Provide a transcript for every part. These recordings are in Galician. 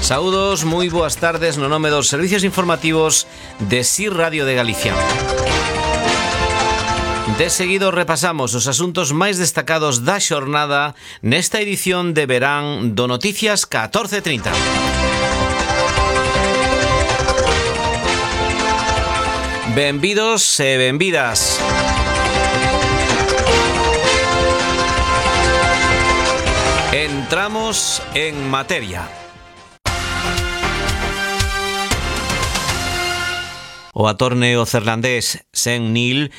Saúdos, moi boas tardes no nome dos servicios informativos de SIR Radio de Galicia. De seguido repasamos os asuntos máis destacados da xornada nesta edición de verán do Noticias 14:30. Benvidos e benvidas. Entramos en materia. O actor neozelandés Sam Neill,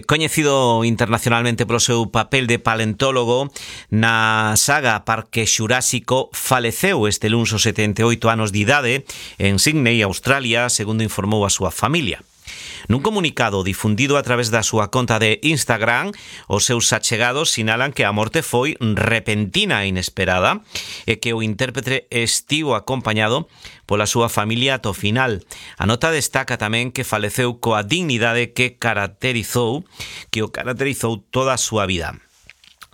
coñecido internacionalmente polo seu papel de paleontólogo na saga Parque Xurásico, faleceu este luns aos 78 anos de idade en Sydney, Australia, segundo informou a súa familia. Nun comunicado difundido a través da súa conta de Instagram, os seus achegados sinalan que a morte foi repentina e inesperada e que o intérprete estivo acompañado pola súa familia ata o final. A nota destaca tamén que faleceu coa dignidade que o caracterizou toda a súa vida.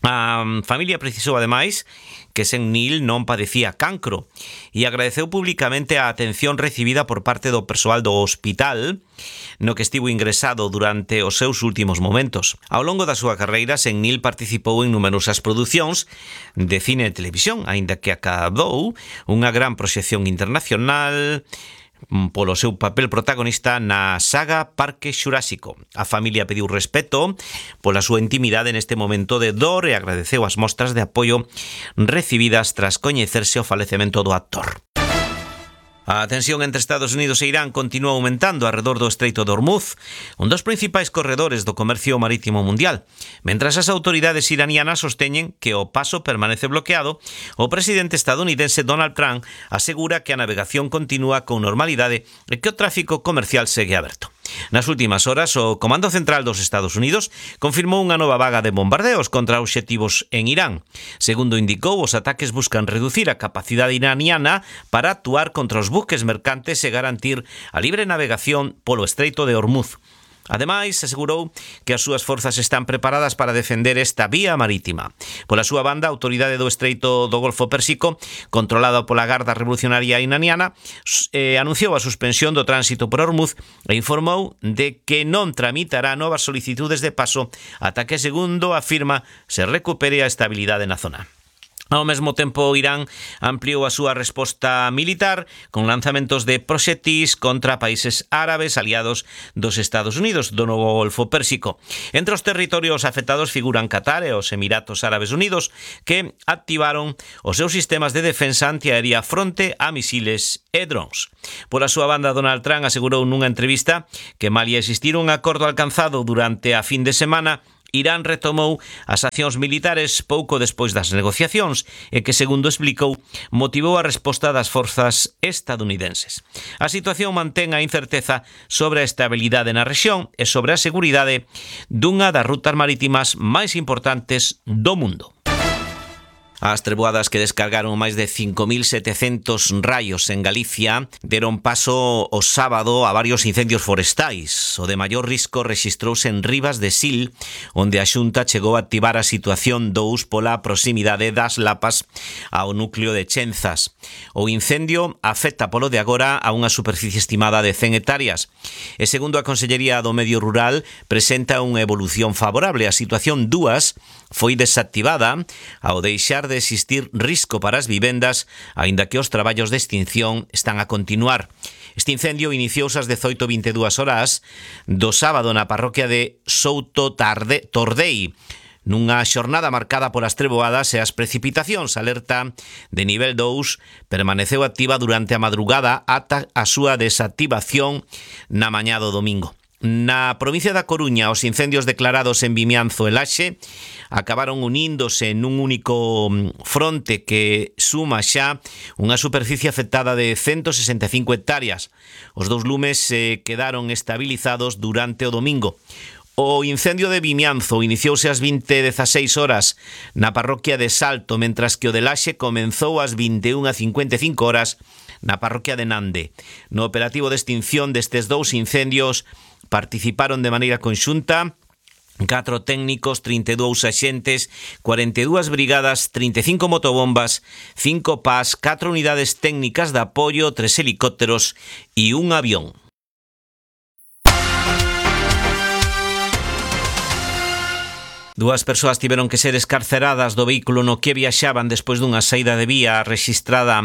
A familia precisou, ademais, que Sam Neill non padecía cancro e agradeceu públicamente a atención recibida por parte do persoal do hospital no que estivo ingresado durante os seus últimos momentos. Ao longo da súa carreira, Sam Neill participou en numerosas producións de cine e televisión, aínda que acabou unha gran proxección internacional polo seu papel protagonista na saga Parque Xurásico. A familia pediu respeto pola súa intimidade neste momento de dor e agradeceu as mostras de apoio recibidas tras coñecerse o falecemento do actor. A tensión entre Estados Unidos e Irán continúa aumentando arredor do Estreito de Hormuz, un dos principais corredores do comercio marítimo mundial. Mentras as autoridades iranianas sosteñen que o paso permanece bloqueado, o presidente estadounidense Donald Trump asegura que a navegación continúa con normalidade e que o tráfico comercial segue aberto. Nas últimas horas, o Comando Central dos Estados Unidos confirmou unha nova vaga de bombardeos contra obxectivos en Irán. Segundo indicou, os ataques buscan reducir a capacidade iraniana para actuar contra os buques mercantes e garantir a libre navegación polo Estreito de Hormuz. Ademais, asegurou que as súas forzas están preparadas para defender esta vía marítima. Pola súa banda, a autoridade do Estreito do Golfo Pérsico, controlada pola Garda Revolucionaria iraniana, anunciou a suspensión do tránsito por Hormuz e informou de que non tramitará novas solicitudes de paso ata que, segundo afirma, se recupere a estabilidade na zona. Ao mesmo tempo, Irán ampliou a súa resposta militar con lanzamentos de proxectis contra países árabes aliados dos Estados Unidos do novo Golfo Pérsico. Entre os territorios afectados figuran Qatar e os Emiratos Árabes Unidos, que activaron os seus sistemas de defensa antiaérea fronte a misiles e drons. Pola súa banda, Donald Trump asegurou nunha entrevista que malia existir un acordo alcanzado durante a fin de semana, Irán retomou as accións militares pouco despois das negociacións e que, segundo explicou, motivou a resposta das forzas estadounidenses. A situación mantén a incerteza sobre a estabilidade na rexión e sobre a seguridade dunha das rutas marítimas máis importantes do mundo. As treboadas que descargaron máis de 5.700 raios en Galicia deron paso o sábado a varios incendios forestais. O de maior risco rexistrouse en Rivas de Sil, onde a Xunta chegou a activar a situación 2 pola proximidade das lapas ao núcleo de Chenzas. O incendio afecta polo de agora a unha superficie estimada de 100 hectáreas e, segundo a Consellería do Medio Rural, presenta unha evolución favorable. A situación 2 foi desactivada ao deixar de existir risco para as vivendas, aínda que os traballos de extinción están a continuar. Este incendio iniciouse ás 18:22 horas do sábado na parroquia de Souto Tordei, nunha xornada marcada polas treboadas e as precipitacións. A alerta de nivel 2 permaneceu activa durante a madrugada ata a súa desactivación na mañá do domingo. Na provincia da Coruña, os incendios declarados en Vimianzo e Laxe acabaron uníndose nun único fronte que suma xa unha superficie afectada de 165 hectáreas. Os dous lumes quedaron estabilizados durante o domingo. O incendio de Vimianzo iniciouse ás 20:16 horas na parroquia de Salto, mentras que o de Laxe comenzou ás 21:55 horas na parroquia de Nande. No operativo de extinción destes dous incendios participaron de maneira conxunta 4 técnicos, 32 axentes, 42 brigadas, 35 motobombas, 5 PAS, 4 unidades técnicas de apoio, 3 helicópteros e un avión. Dúas persoas tiveron que ser escarceradas do vehículo no que viaxaban despois dunha saída de vía rexistrada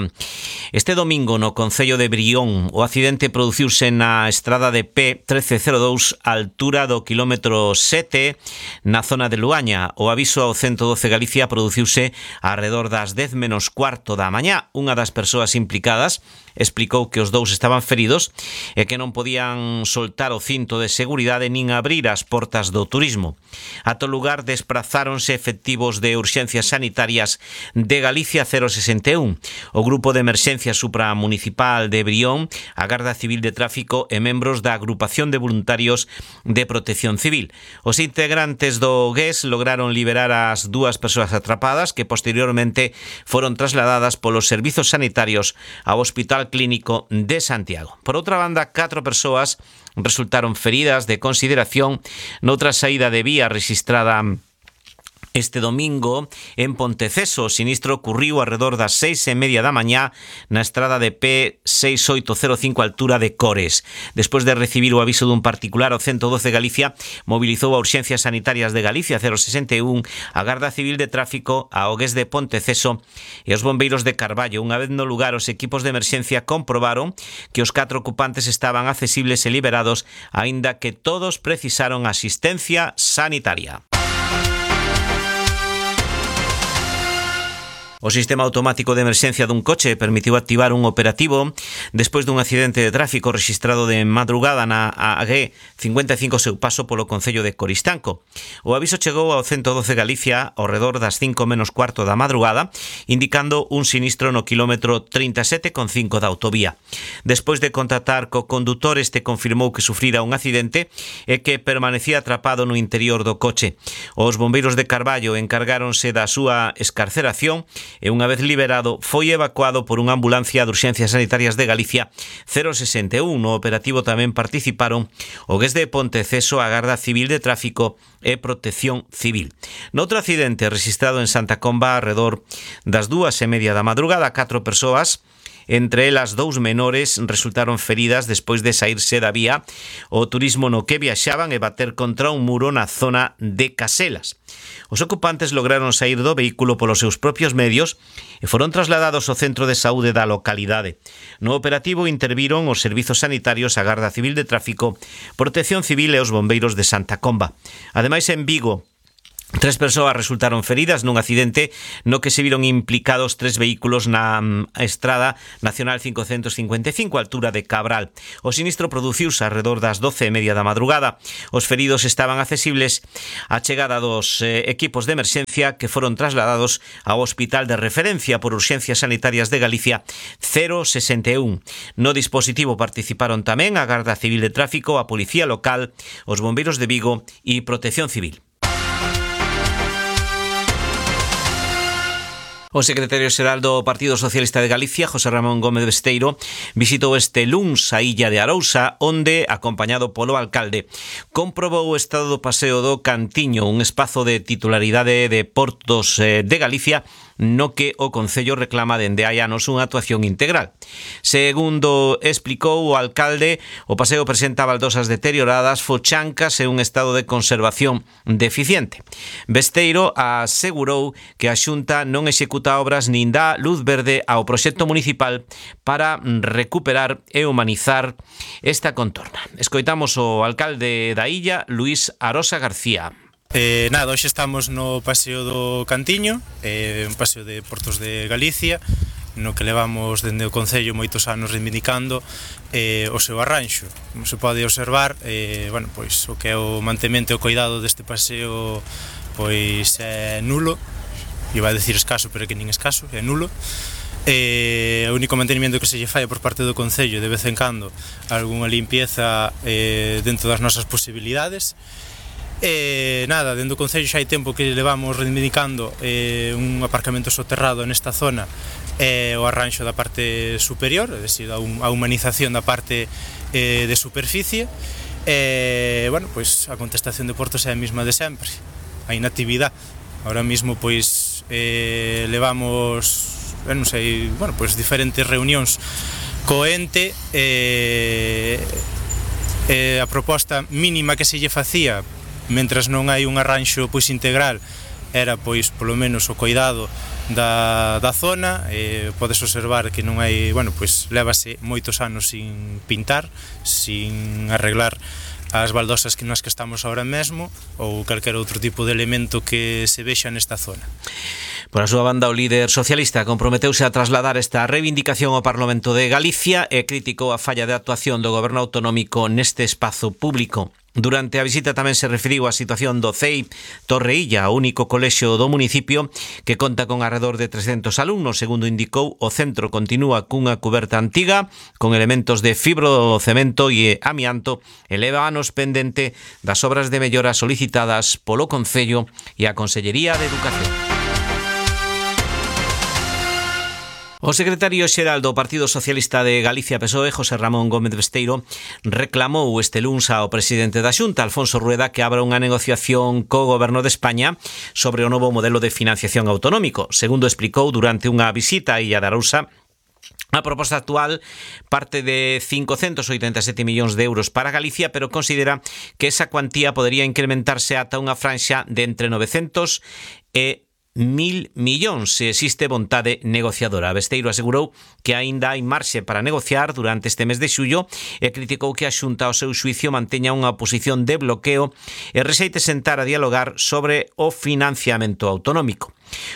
este domingo no concello de Brión. O accidente produciuse na estrada de P1302 á altura do quilómetro 7 na zona de Luaña. O aviso ao 112 Galicia produciuse arredor das 10 menos cuarto da mañá. Unha das persoas implicadas explicou que os dous estaban feridos e que non podían soltar o cinto de seguridade nin abrir as portas do turismo. Ata o lugar desprazáronse efectivos de urxencias sanitarias de Galicia 061, o Grupo de Emerxencia Supramunicipal de Brión, a Garda Civil de Tráfico e membros da Agrupación de Voluntarios de Protección Civil. Os integrantes do GES lograron liberar as dúas persoas atrapadas que posteriormente foron trasladadas polos servizos sanitarios ao Hospital Clínico de Santiago. Por outra banda, 4 persoas resultaron feridas de consideración noutra saída de vía rexistrada este domingo en Ponteceso. O sinistro ocurriu arredor das 6:30 da mañá na estrada de P6805 altura de Cores. Despois de recibir o aviso dun particular, o 112 Galicia mobilizou a Urxencias Sanitarias de Galicia 061, a Garda Civil de Tráfico, a OGES de Ponteceso e os bombeiros de Carballo. Unha vez no lugar, os equipos de emerxencia comprobaron que os 4 ocupantes estaban accesibles e liberados, aínda que todos precisaron asistencia sanitaria. O sistema automático de emerxencia dun coche permitiu activar un operativo despois dun accidente de tráfico rexistrado de madrugada na AG 55 seu paso polo concello de Coristanco. O aviso chegou ao 112 Galicia ao redor das 5 menos cuarto da madrugada, indicando un sinistro no quilómetro 37,5 da autovía. Despois de contactar co condutor, este confirmou que sufrira un accidente e que permanecía atrapado no interior do coche. Os bombeiros de Carballo encargáronse da súa escarceración e unha vez liberado foi evacuado por unha ambulancia de Urxencias Sanitarias de Galicia 061. No operativo tamén participaron o GES de Ponteceso, a Garda Civil de Tráfico e Protección Civil. Noutro accidente registrado en Santa Comba arredor das 2:30 da madrugada, 4 persoas, entre elas 2 menores, resultaron feridas despois de saírse da vía o turismo no que viaxaban e bater contra un muro na zona de Caselas. Os ocupantes lograron saír do vehículo polos seus propios medios e foron trasladados ao centro de saúde da localidade. No operativo interviron os servizos sanitarios, a Garda Civil de Tráfico, Protección Civil e os bombeiros de Santa Comba. Ademais, en Vigo, 3 persoas resultaron feridas nun accidente no que se viron implicados 3 vehículos na Estrada Nacional 555, altura de Cabral. O sinistro produciuse arredor das 12:30 da madrugada. Os feridos estaban accesibles á chegada dos equipos de emerxencia que foron trasladados ao Hospital de Referencia por Urxencias Sanitarias de Galicia 061. No dispositivo participaron tamén a Garda Civil de Tráfico, a Policía Local, os bombeiros de Vigo e Protección Civil. O secretario xeral do Partido Socialista de Galicia, José Ramón Gómez Besteiro, visitou este luns a illa de Arousa, onde, acompañado polo alcalde, comprobou o estado do paseo do Cantiño, un espazo de titularidade de Portos de Galicia, no que o Concello reclama dende hai anos unha actuación integral. Segundo explicou o alcalde, o paseo presenta baldosas deterioradas, fochancas e un estado de conservación deficiente. Besteiro asegurou que a Xunta non executa obras nin dá luz verde ao proxecto municipal para recuperar e humanizar esta contorna. Escoitamos o alcalde da illa, Luís Arosa García. Hoxe estamos no Paseo do Cantiño, un paseo de Portos de Galicia, no que levamos dende o Concello moitos anos reivindicando o seu arranxo. Como se pode observar, pois o que é o mantemento e o cuidado deste paseo pois é nulo. Iba a decir escaso, pero que nin escaso, é nulo. O único mantenimento que se lle fai por parte do Concello, de vez en cando, algunha limpieza dentro das nosas posibilidades. Dentro do Concello xa hai tempo que levamos reivindicando un aparcamento soterrado nesta zona e o arranxo da parte superior, é dicir, a humanización da parte de superficie. bueno, pois a contestación de Portos é a mesma de sempre, a inactividade. Ahora mesmo pois levamos, non sei, bueno, pois diferentes reunións co ente, a proposta mínima que se lle facía, mentras non hai un arranxo pois integral, era pois polo menos o cuidado da zona. Podes observar que non hai, bueno, pois lévase moitos anos sin pintar, sin arreglar as baldosas nas que estamos ahora mesmo, ou calquer outro tipo de elemento que se vexa nesta zona. Por a súa banda, o líder socialista comprometeuse a trasladar esta reivindicación ao Parlamento de Galicia e criticou a falla de actuación do goberno autonómico neste espazo público. Durante a visita tamén se referiu á situación do CEI Torreilla, o único colexio do municipio que conta con alrededor de 300 alumnos. Segundo indicou, o centro continúa cunha cuberta antiga con elementos de fibrocemento e amianto e leva anos pendente das obras de mellora solicitadas polo Concello e a Consellería de Educación. O secretario xeral do Partido Socialista de Galicia PSOE, José Ramón Gómez Besteiro, reclamou este luns ao presidente da Xunta, Alfonso Rueda, que abra unha negociación co Goberno de España sobre o novo modelo de financiación autonómico. Segundo explicou durante unha visita a Illa de Arousa, a proposta actual parte de 587 millóns de euros para Galicia, pero considera que esa cuantía podría incrementarse ata unha franxa de entre 900 e 1.000 millóns se existe vontade negociadora. Besteiro asegurou que aínda hai marxe para negociar durante este mes de xullo e criticou que a Xunta ao seu xuicio manteña unha posición de bloqueo e rexeite sentar a dialogar sobre o financiamento autonómico.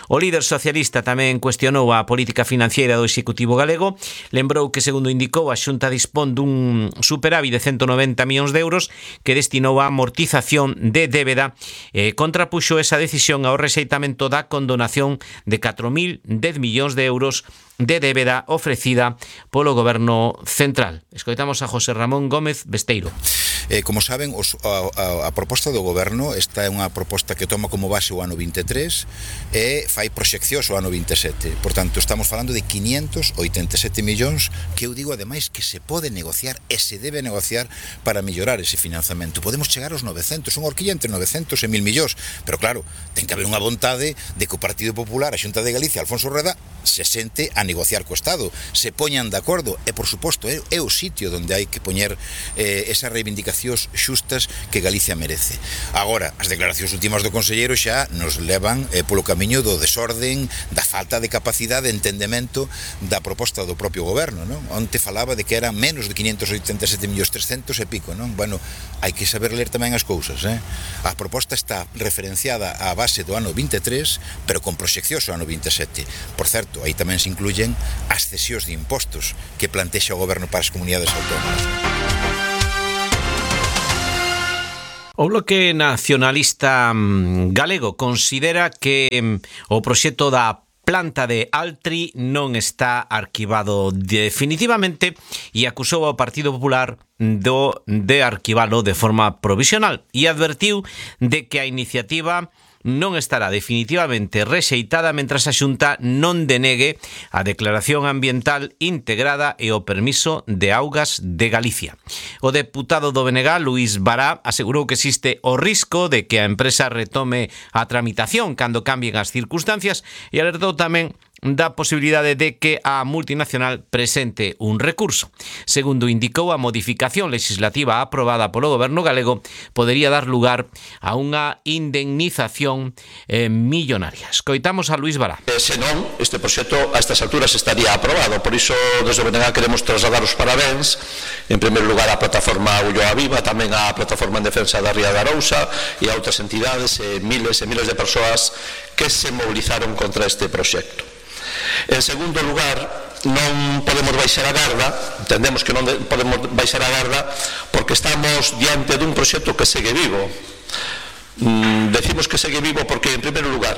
O líder socialista tamén cuestionou a política financiera do Executivo galego, lembrou que, segundo indicou, a Xunta dispón dun superávit de 190 millóns de euros que destinou a amortización de débeda e contrapuxo esa decisión ao rexeitamento da condonación de 4.010 millóns de euros de débeda ofrecida polo Goberno Central. Escoitamos a José Ramón Gómez Besteiro. Como saben, a proposta do Goberno, esta é unha proposta que toma como base o ano 23 e fai proxeccións o ano 27. Por tanto, estamos falando de 587 millóns que eu digo, ademais, que se pode negociar e se debe negociar para mellorar ese financiamento. Podemos chegar aos 900, unha horquilla entre 900 e 1.000 millóns, pero claro, ten que haber unha vontade de que o Partido Popular, a Xunta de Galicia, Alfonso Rueda, se sente a negociar co Estado, se poñan de acordo e, por suposto, é o sitio onde hai que poñer esas reivindicacións xustas que Galicia merece. Agora, as declaracións últimas do conselleiro xa nos levan polo camiño do desorden, da falta de capacidade de entendemento da proposta do propio goberno, non? Onte falaba de que eran menos de 587 millóns 300 e pico, non? Bueno, hai que saber ler tamén as cousas, A proposta está referenciada á base do ano 23, pero con proxeccións ao ano 27. Por certo, aí tamén se incluyen as cesións de impostos que plantexa o goberno para as comunidades autónomas. O Bloque Nacionalista galego considera que o proxecto da planta de Altri non está arquivado definitivamente e acusou ao Partido Popular de arquivalo de forma provisional e advertiu de que a iniciativa non estará definitivamente rexeitada mentras a Xunta non denegue a declaración ambiental integrada e o permiso de augas de Galicia. O deputado do BNG, Luís Bará, asegurou que existe o risco de que a empresa retome a tramitación cando cambien as circunstancias e alertou tamén da posibilidade de que a multinacional presente un recurso. Segundo indicou, a modificación legislativa aprobada polo goberno galego podería dar lugar a unha indemnización millonaria. Escoitamos a Luís Bará. Senón, este proxecto a estas alturas estaría aprobado, por iso desde o BNG queremos trasladar os parabéns en primeiro lugar á plataforma Ulloa Viva, tamén á plataforma en defensa da Ría de Arousa e a outras entidades e miles de persoas que se movilizaron contra este proxecto. En segundo lugar, non podemos baixar a garda, entendemos que non podemos baixar a garda porque estamos diante dun proxecto que segue vivo. Decimos que segue vivo porque, en primeiro lugar,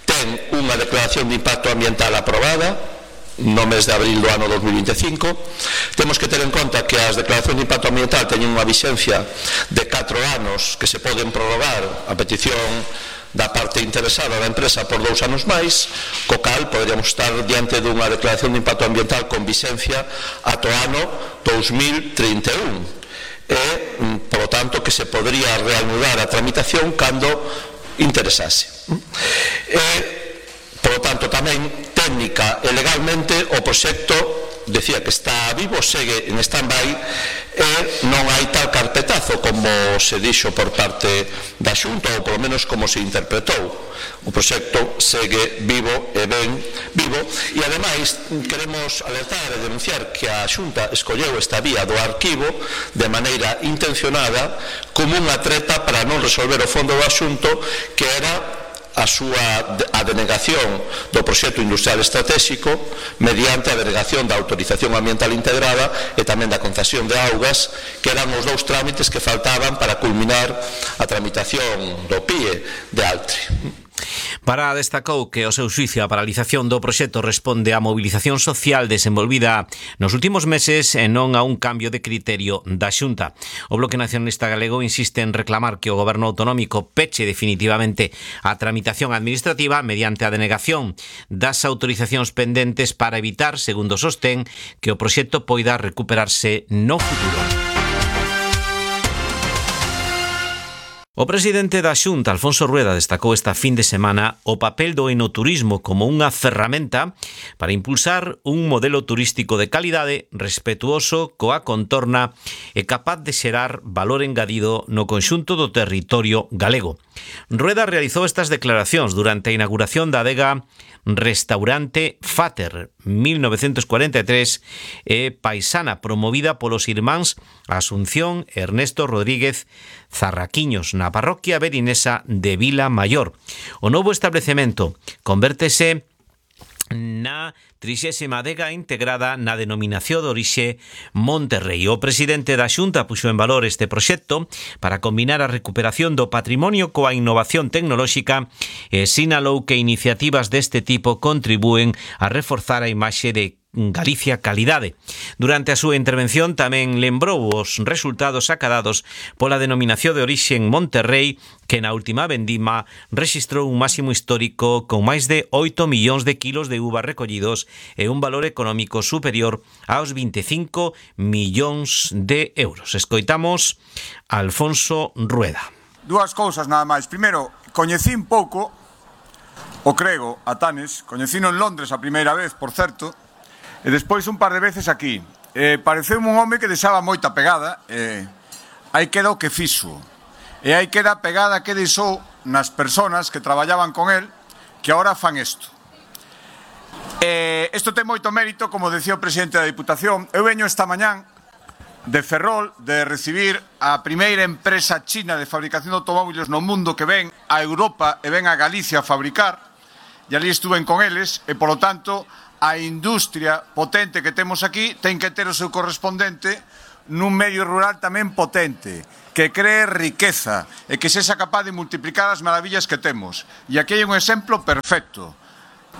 ten unha declaración de impacto ambiental aprobada no mes de abril do ano 2025. Temos que ter en conta que as declaracións de impacto ambiental teñen unha vixencia de 4 anos que se poden prorrogar a petición da parte interesada da empresa por 2 anos máis, co cal poderíamos estar diante dunha declaración de impacto ambiental con vixencia ata o ano 2031. e, polo tanto, que se podría reanudar a tramitación cando interesase. Polo tanto, tamén técnica e legalmente o proxecto decía que está vivo, segue en stand-by e non hai tal carpetazo como se dixo por parte da Xunta, ou polo menos como se interpretou. O proxecto segue vivo e ben vivo, e ademais queremos alertar e denunciar que a Xunta escolleu esta vía do arquivo de maneira intencionada como unha treta para non resolver o fondo do asunto, que era a denegación do proxecto industrial estratégico mediante a denegación da autorización ambiental integrada e tamén da concesión de augas, que eran os dous trámites que faltaban para culminar a tramitación do PIE de Altri. Para destacou que o seu xuicio a paralización do proxecto responde á mobilización social desenvolvida nos últimos meses e non a un cambio de criterio da Xunta. O Bloque Nacionalista Galego insiste en reclamar que o Goberno autonómico peche definitivamente a tramitación administrativa mediante a denegación das autorizacións pendentes para evitar, segundo sostén, que o proxecto poida recuperarse no futuro. O presidente da Xunta, Alfonso Rueda, destacou esta fin de semana o papel do enoturismo como unha ferramenta para impulsar un modelo turístico de calidade, respetuoso coa contorna e capaz de xerar valor engadido no conxunto do territorio galego. Rueda realizou estas declaracións durante a inauguración da adega Restaurante Fater 1943 e paisana promovida polos irmáns Asunción e Ernesto Rodríguez Zarraquiños na parroquia berinesa de Vila Maior. O novo establecemento convértese na 30ª adega integrada na denominación de orixe Monterrei. O presidente da Xunta puxo en valor este proxecto para combinar a recuperación do patrimonio coa innovación tecnolóxica e sinalou que iniciativas deste tipo contribúen a reforzar a imaxe de Galicia Calidade. Durante a súa intervención tamén lembrou os resultados acadados pola denominación de orixe en Monterrei, que na última vendima rexistrou un máximo histórico con máis de 8 millóns de kilos de uva recollidos e un valor económico superior aos 25 millóns de euros. Escoitamos a Alfonso Rueda. Dúas cousas nada máis. Primeiro, coñecín pouco o grego a Tanes, coñecino en Londres a primeira vez, por certo, e despois un par de veces aquí. Pareceume un home que deixaba moita pegada, aí queda o que fixo. E aí queda a pegada que deixou nas personas que traballaban con él, que agora fan isto. Isto ten moito mérito, como decía o presidente da Diputación. Eu veño esta mañán de Ferrol de recibir a primeira empresa china de fabricación de automóviles no mundo que ven a Europa e ven a Galicia a fabricar, e ali estuven con eles, e polo tanto a industria potente que temos aquí ten que ter o seu correspondente nun medio rural tamén potente, que cree riqueza e que sexa capaz de multiplicar as maravillas que temos. E aquí hai un exemplo perfecto.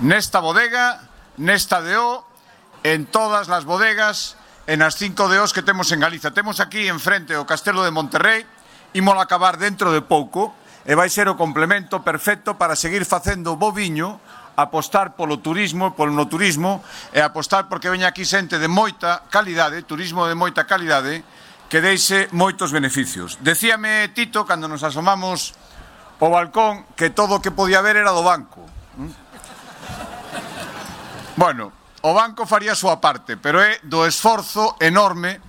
Nesta bodega, nesta DO, en todas as bodegas, en as 5 DOs que temos en Galicia. Temos aquí enfrente o Castelo de Monterrei, ímolo acabar dentro de pouco, e vai ser o complemento perfecto para seguir facendo bo viño, apostar polo turismo, polo no turismo, e apostar porque veña aquí xente de moita calidade, turismo de moita calidade, que deixe moitos beneficios. Decíame Tito, cando nos asomamos ao balcón, que todo o que podía haber era do banco. Bueno, o banco faría a súa parte, pero é do esforzo enorme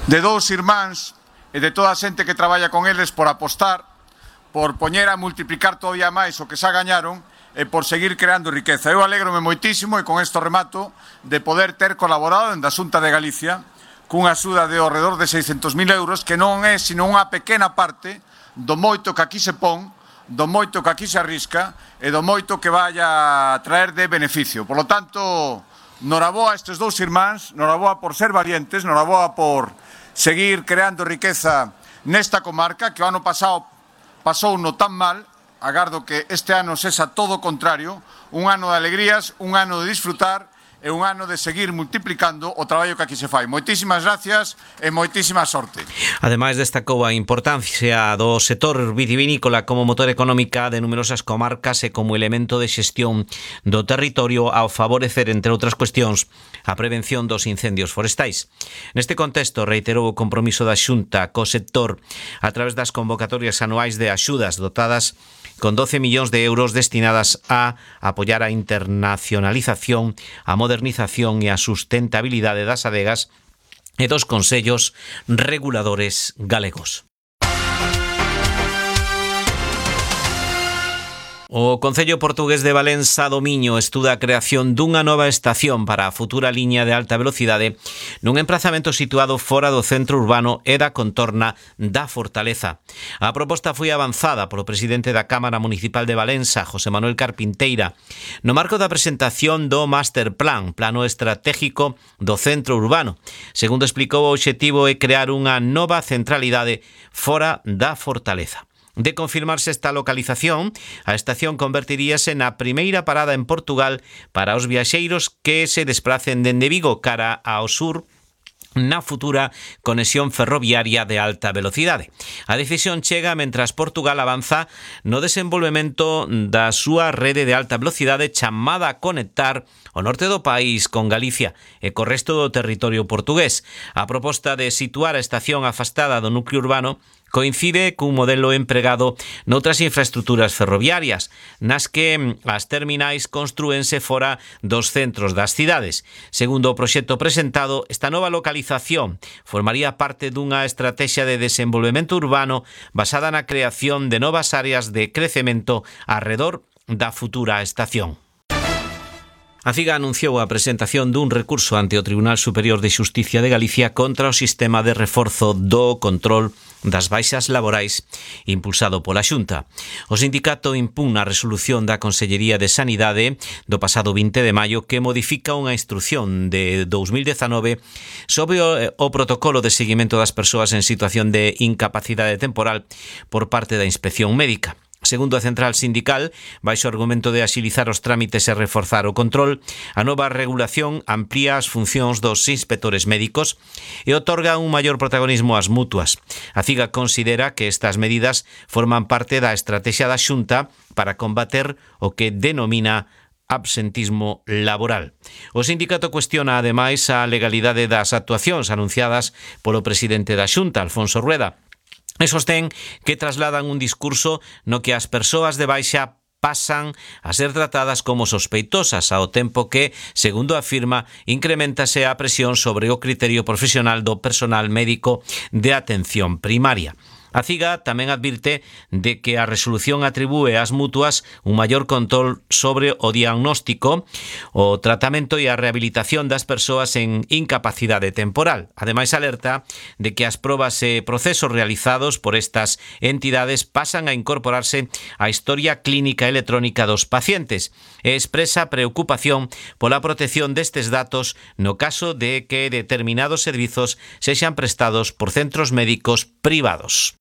de dous irmáns e de toda a xente que traballa con eles por apostar, por poñer a multiplicar todavía máis o que xa gañaron, e por seguir creando riqueza. Eu alégrome moitísimo, e con isto remato, de poder ter colaborado en da Xunta de Galicia cunha axuda de ao redor de 600.000 euros, que non é sino unha pequena parte do moito que aquí se pon, do moito que aquí se arrisca e do moito que vai a traer de beneficio. Por lo tanto, noraboa a estes dous irmáns, noraboa por ser valientes, noraboa por seguir creando riqueza nesta comarca, que o ano pasado pasou no tan mal. Agardo que este ano sexa todo o contrario, un ano de alegrías, un ano de disfrutar é un ano de seguir multiplicando o traballo que aquí se fai. Moitísimas gracias e moitísima sorte. Ademais, destacou a importancia do sector vitivinícola como motor económica de numerosas comarcas e como elemento de xestión do territorio ao favorecer, entre outras cuestións, a prevención dos incendios forestais. Neste contexto, reiterou o compromiso da Xunta co sector a través das convocatorias anuais de axudas dotadas con 12 millóns de euros destinadas a apoiar a internacionalización, a modernización e a sustentabilidade das adegas e dos consellos reguladores galegos. O Concello Portugués de Valença do Miño estuda a creación dunha nova estación para a futura liña de alta velocidade nun emprazamento situado fora do centro urbano e da contorna da Fortaleza. A proposta foi avanzada polo presidente da Cámara Municipal de Valença, José Manuel Carpinteira, no marco da presentación do Master Plan, Plano Estratégico do Centro Urbano. Segundo explicou, o obxectivo é crear unha nova centralidade fora da Fortaleza. De confirmarse esta localización, a estación convertiríase na primeira parada en Portugal para os viaxeiros que se despracen dende Vigo cara ao sur na futura conexión ferroviaria de alta velocidade. A decisión chega mentras Portugal avanza no desenvolvemento da súa rede de alta velocidade chamada a conectar o norte do país con Galicia e co resto do territorio portugués. A proposta de situar a estación afastada do núcleo urbano coincide cun modelo empregado noutras infraestructuras ferroviarias, nas que as terminais construense fora dos centros das cidades. Segundo o proxecto presentado, esta nova localización formaría parte dunha estrategia de desenvolvemento urbano basada na creación de novas áreas de crecemento arredor da futura estación. A CIGA anunciou a presentación dun recurso ante o Tribunal Superior de Xusticia de Galicia contra o sistema de reforzo do control das baixas laborais impulsado pola Xunta. O sindicato impugna a resolución da Consellería de Sanidade do pasado 20 de maio que modifica unha instrucción de 2019 sobre o protocolo de seguimento das persoas en situación de incapacidade temporal por parte da Inspección Médica. Segundo a central sindical, baixo o argumento de axilizar os trámites e reforzar o control, a nova regulación amplía as funcións dos inspectores médicos e otorga un maior protagonismo ás mutuas. A CIGA considera que estas medidas forman parte da estrategia da Xunta para combater o que denomina absentismo laboral. O sindicato cuestiona ademais a legalidade das actuacións anunciadas polo presidente da Xunta, Alfonso Rueda, e sostén que trasladan un discurso no que as persoas de baixa pasan a ser tratadas como sospeitosas ao tempo que, segundo afirma, incrementase a presión sobre o criterio profesional do personal médico de atención primaria. A CIGA tamén advirte de que a resolución atribúe ás mutuas un maior control sobre o diagnóstico, o tratamento e a rehabilitación das persoas en incapacidade temporal. Ademais, alerta de que as probas e procesos realizados por estas entidades pasan a incorporarse á historia clínica electrónica dos pacientes e expresa preocupación pola protección destes datos no caso de que determinados servizos sexan prestados por centros médicos privados.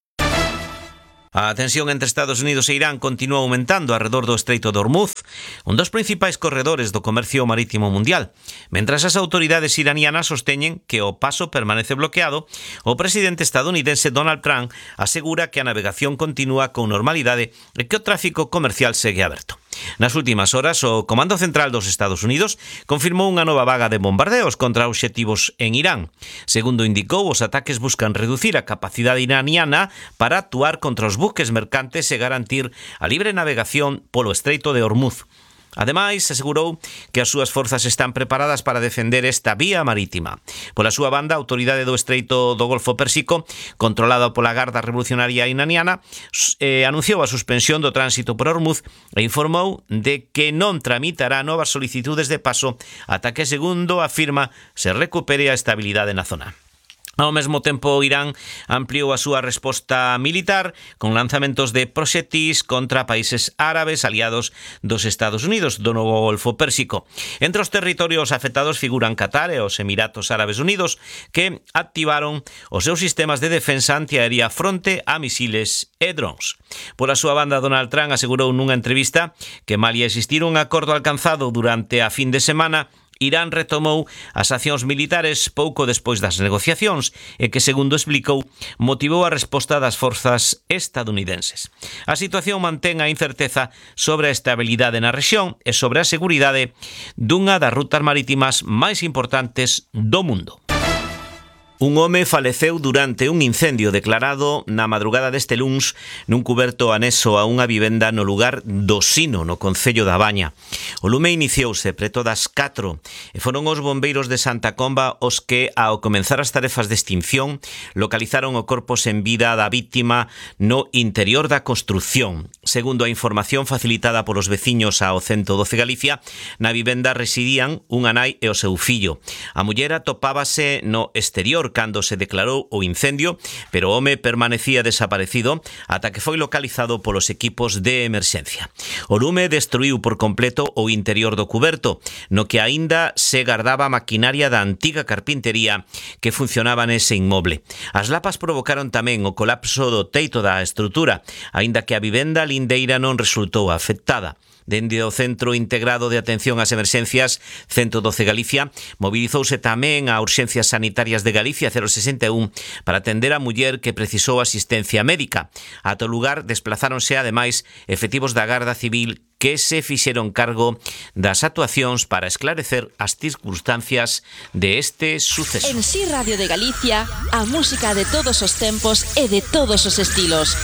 A tensión entre Estados Unidos e Irán continúa aumentando arredor do Estreito de Hormuz, un dos principais corredores do comercio marítimo mundial. Mentras as autoridades iranianas sosteñen que o paso permanece bloqueado, o presidente estadounidense Donald Trump asegura que a navegación continúa con normalidade e que o tráfico comercial segue aberto. Nas últimas horas, o Comando Central dos Estados Unidos confirmou unha nova vaga de bombardeos contra obxectivos en Irán. Segundo indicou, os ataques buscan reducir a capacidade iraniana para actuar contra os buques mercantes e garantir a libre navegación polo Estreito de Hormuz. Ademais, asegurou que as súas forzas están preparadas para defender esta vía marítima. Pola súa banda, a autoridade do Estreito do Golfo Pérsico, controlada pola Garda Revolucionaria iraniana, anunciou a suspensión do tránsito por Hormuz e informou de que non tramitará novas solicitudes de paso ata que, segundo afirma, se recupere a estabilidade na zona. Ao mesmo tempo, Irán ampliou a súa resposta militar con lanzamentos de proxectis contra países árabes aliados dos Estados Unidos do novo Golfo Pérsico. Entre os territorios afectados figuran Qatar e os Emiratos Árabes Unidos, que activaron os seus sistemas de defensa antiaérea fronte a misiles e drons. Pola súa banda, Donald Trump asegurou nunha entrevista que malia existir un acordo alcanzado durante a fin de semana, Irán retomou as accións militares pouco despois das negociacións e que, segundo explicou, motivou a resposta das forzas estadounidenses. A situación mantén a incerteza sobre a estabilidade na rexión e sobre a seguridade dunha das rutas marítimas máis importantes do mundo. Un home faleceu durante un incendio declarado na madrugada deste luns nun cuberto anexo a unha vivenda no lugar do Sino, no concello da Baña. O lume iniciouse preto das 4 e foron os bombeiros de Santa Comba os que, ao comenzar as tarefas de extinción, localizaron o corpo sen vida da víctima no interior da construción. Segundo a información facilitada polos veciños ao 112 Galicia, na vivenda residían unha nai e o seu fillo. A muller atopábase no exterior cando se declarou o incendio, pero o home permanecía desaparecido ata que foi localizado polos equipos de emerxencia. O lume destruiu por completo o interior do cuberto, no que aínda se gardaba maquinaria da antiga carpintería que funcionaba nese inmoble. As lapas provocaron tamén o colapso do teito da estrutura, aínda que a vivenda lindeira non resultou afectada. Dende o Centro Integrado de Atención ás Emerxencias 112 Galicia, mobilizouse tamén a Urxencias Sanitarias de Galicia 061 para atender a muller que precisou asistencia médica. Ata o lugar desplazáronse ademais efectivos da Garda Civil que se fixeron cargo das actuacións para esclarecer as circunstancias de este suceso. En Si Radio de Galicia, a música de todos os tempos e de todos os estilos.